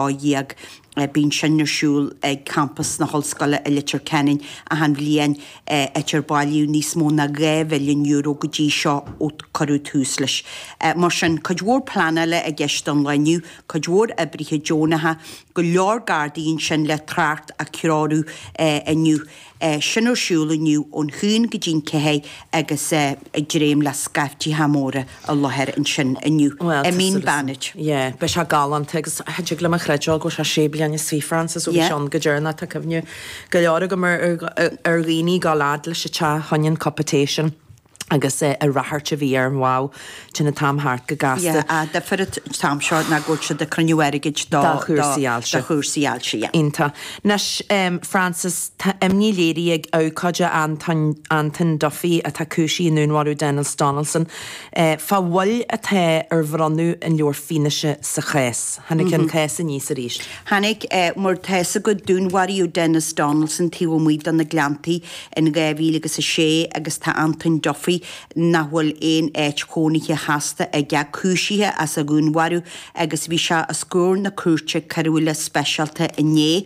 12. Bíonn sin ar siúl ag campas na hOllscoile i Leitir Ceanainn achan bhliain, áit ar bailíodh níos mó ná €2 mhilliún go dtí seo ó cuireadh tús leis. Mar sin, cuid mhór pleanála i gceist don lá inniu, cuid mhór oibrithe deonacha, go leor Gardaí ansin le trácht a threorú inniu. Sin ar siúl inniu ón haon go dtí'n ceathair agus ag dréim le scaiftithe móra i láthair ansin inniu. I Mín Bannaid. Yeah, beidh sé galánta agus cha dtig liom a chreidbheáil go bhfuil sé sé bliana is fiche Frances ó bhí sé ann go deireanach tá cuimhne go leor agam ar ar dhaoine ag gabháil fhad leis an teach fá choinne an cupa tae sin. agus an ráchairt a bhí air, wow, téann an t-am thart go gasta. Yeah, an difear an t-am seo ná go bhfuil siad ag cruinniú airgid do Do chúrsaí ailse. do chúrsaí ailse, yeah. Iontach. Anois, Frances, tá imní léirithe ag abhcóide Antoin, Anton Duffy, atá cúisithe i ndúnmharú Denis Donaldson, fá mhoill atá ar bhronnadh an leabhar fianaise sa chás. Tháinig an cás aníos arís. Tháinig, mar tá fhios agat, dúnmharaíodh Denis Donaldson taobh amuigh de na Gleanntaí in 2006 agus tá Antoin Duffy, nach bhfuil aon áit chónaithe sheasta aige, cúisithe as a dhúnmharú agus bhí sé os comhair na cúirte coiriúla speisialta inné.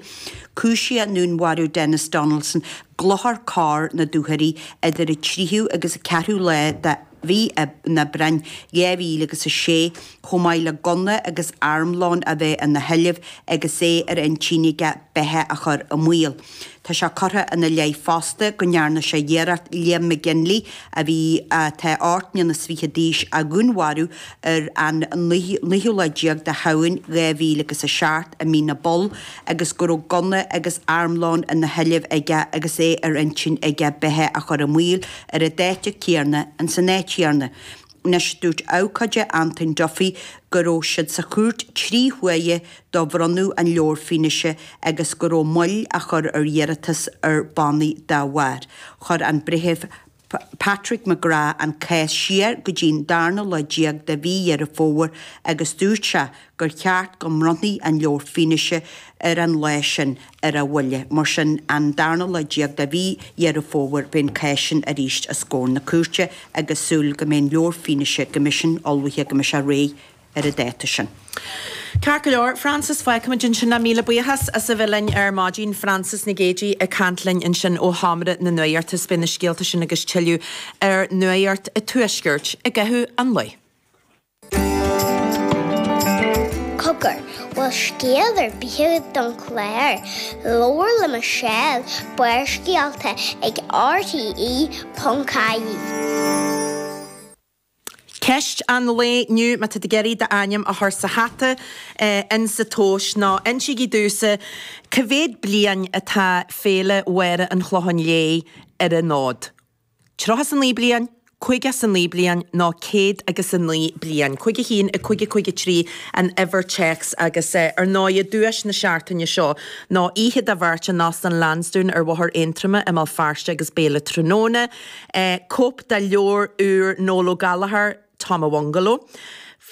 Cúisíodh i ndúnmharú Denis Donaldson i gClochar Corr na Dúchoraidh idir an tríú agus an ceathrú lá de mhí an Aibreáin 2006, chomh maith le gunna agus armlón a bheith ina sheilbh agus é ar intinn aige beatha a chur i mbaol. Tá sé curtha ina leith fosta go ndearna sé iarracht Liam McGinley, a bhí atá 28 mbliana is fiche d'aois, a dhúnmharú ar an naoú lá déag de Shamhain 2007 i Mín na bPoll agus go raibh gunna agus armlón ina sheilbh aige agus é ar intinn aige beatha a chur i mbaol ar an dáta céanna ins an áit chéanna. Anois, dúirt abhcóide Antoin Duffy go raibh siad sa chúirt 3 huaire do bhronnadh an leabhair fianaise agus go raibh moill á chur ar iarratas ar bannaí dá bharr. Chuir an Breitheamh Patrick McGrath an cás siar go dtí'n darna lá déag de mhí Dheireadh Fómhair agus dúirt sé gur cheart go mbronnfaí an leabhar fianaise ar an lá sin ar a mhoille. Mar sin, an darna lá déag de mhí Dheireadh Fómhair beidh an cás sin arís os comhair na cúirte agus súil go mbeidh an leabhar fianaise, go mbeidh sin ullmhaithe, go mbeidh sé réidh ar an dáta sin. Ceart go leor, Frances, fágfaimid ansin é. Míle buíochas as a bheith linn ar maidin. Frances Nic Géadaigh ag caint linn ansin ó Sheomra na Nuachta. Beidh na scéalta sin agus tuilleadh ar Nuacht an Tuaiscirt i gcaitheamh an lae. Cogar, bhfuil scéal ar bith agat don chlár? Labhair le Michelle, Barrscéalta ag RTE.ie. Ceist an lae inniu, má tá tú ag iarraidh d'ainm a chur sa hata in sa tomhas, ná insígí domhsa cá mhéad bliain atá Féile Mháire an Chlocháin Léith ar an fhód? 39 bliain, 59 bliain nó 109 bliain. 5 1 5 5 3 an uimhir téacs agus ar ndóigh duais na seachtaine seo ná oíche do bheirt in Óstán Lansdowne ar Bhóthar Aontroma i mBéal Feirste agus béile tráthnóna. Cóip de leabhar úr Noel Ó Gallchóir, Tom a' Bhungaló.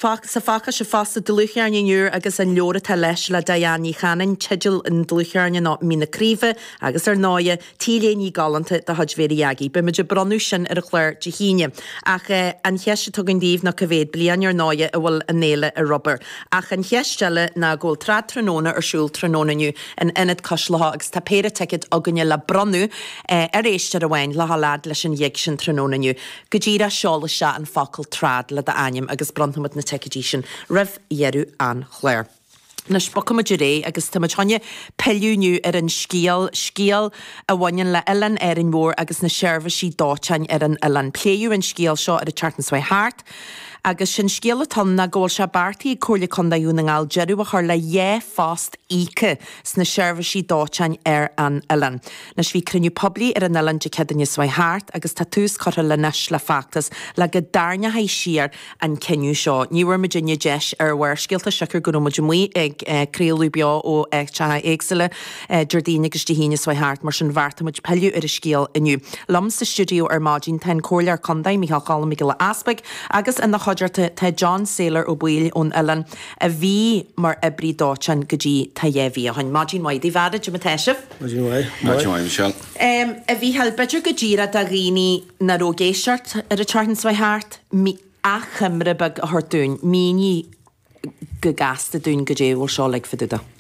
Sa phacáiste fosta, dlúthcheirnín úr agus an leabhar atá leis le Diane Ní Chanainn, teideal an dlúthcheirnín ná Mín na Craoibhe agus ar ndóighe, T-léine galánta de chuid Mhéirí Aggie. Beidh muid ag bronnadh sin ar an chlár Dé hAoine. Ach an cheist atá againn daoibh ná cá mhéad bliain ar ndóighe a bhfuil an fhéile ar obair. Ach an cheist eile ná go bhfuil Trad Tráthnóna ar siúl tráthnóna inniu in Ionad Cois Locha agus tá péire ticéad againne le bronnadh ar éisteoir amháin le dhul fhad leis an ghig sin tráthnóna inniu. Go díreach seol isteach an focal 'trad' le d'ainm agus bronnfaimid na ticéidí sin roimh dheireadh an chláir. Anois, bogfaimid ar aghaidh agus táimid chun pilleadh inniu ar an scéal, scéal a bhaineann le Oileán Árainn Mhór agus na seirbhísí dóiteáin ar an oileán. Pléadh an scéal seo ar an tseachtain seo thart agus sé'n scéal atá ann ná go bhfuil sé beartaithe ag Comhairle Contae Dhún na nGall deireadh a chur le dhá phost íoctha sna seirbhísí dóiteáin ar an oileán. Anois bhí cruinniú poiblí ar an oileán Dé Céadaoine seo thart agus tá tús curtha le anois le feachtas le go dtarraingeofaí siar an cinneadh seo. Ní bhfuair muidinne deis ar Bharrscéalta siocair go raibh muid amuigh ag craoladh beo ó áiteacha éagsúla Déardaoin agus Dé hAoine seo thart, mar sin bheartaigh muid pilleadh ar an scéal inniu. Liom sa stiúideo ar maidin tá an Comhairleoir Contae, Micheál Cholm Mac Giolla Easpaig agus ina chuideachta tá John Sailor Ó Baoill ón oileán a bhí mar oibrí dóiteáin go dtí tá dhá mhí ó shin. Maidin mhaith daoibh, a fheara, cad é mar atá sibh? Maidin mhaith. Maidin mhaith, Michelle. A Mhícheáil, b'fhéidir go díreach do dhaoine nach raibh ag éisteacht ar an tseachtain seo thart, achoimre beag a thabhairt dúinn, mínigh. go gasta dúinn goidé a bhfuil seo uilig fá dtaobh de.